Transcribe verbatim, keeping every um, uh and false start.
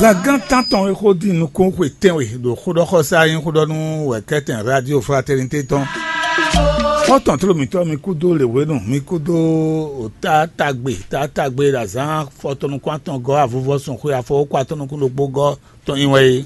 Zǎngán tántɔn e xó din nukún xwe tɛ́nwe ɖo xóɖɔxɔsá nyí xóɖɔnú wɛ̌kɛ́tɛn Radio Fraternité tɔn. Xɔ́ntɔn tló mǐtɔn mi kúdó lěwénu, mi kúdó tá tagbe tá tagbe ɖo azǎn afɔtɔn nukún atɔn gɔ́ avuvɔsun xwe afɔwókɔ atɔn nukún ɖokpó gɔ́ tɔn nyi wɛ é.